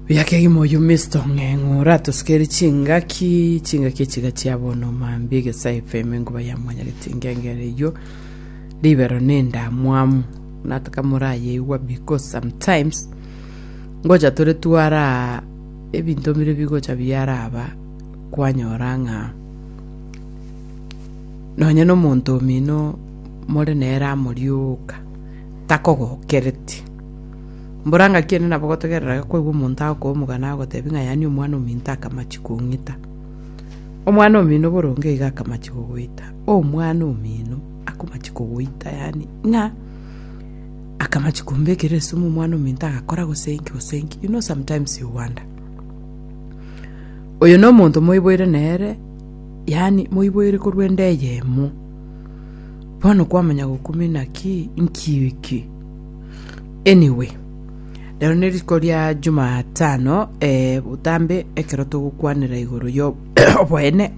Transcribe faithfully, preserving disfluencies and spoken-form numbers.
Buya kegima oyio Mister Ong'eng'o oratosikere chingaki chingaki echiga chia bono mambia Egesa F M enguba ya mwanyageti ngengere eyio ribero na endamwamu nataka morayeigwa, because sometimes ngocha tore twara ebinto bire bigocha biaraba kwanyora ng'a nonye na omonto omino more nere amorioka takogokereti. Mbora ng'aki ende nabo gotegerera koigwa omonto agokoa omogano agotebia ng'a yaani omwana ominto akamachi kong'ita. Omwana omino boronge iga akamachi kogoita. Omwana omino akomachi kogoita, yaani ng'a akamachi kombekera esumu omwana ominto agakora gose inki gose inki. You know, sometimes you wonder. Oyo na omonto moiboire nere, yaani moiboire korwa ende eyemo. Bono kwamanya gokumia naki nki iki. Anyway, rero ne rituko ria Jumatano, eh, botambe ekero togokwanera igoro yo oboene.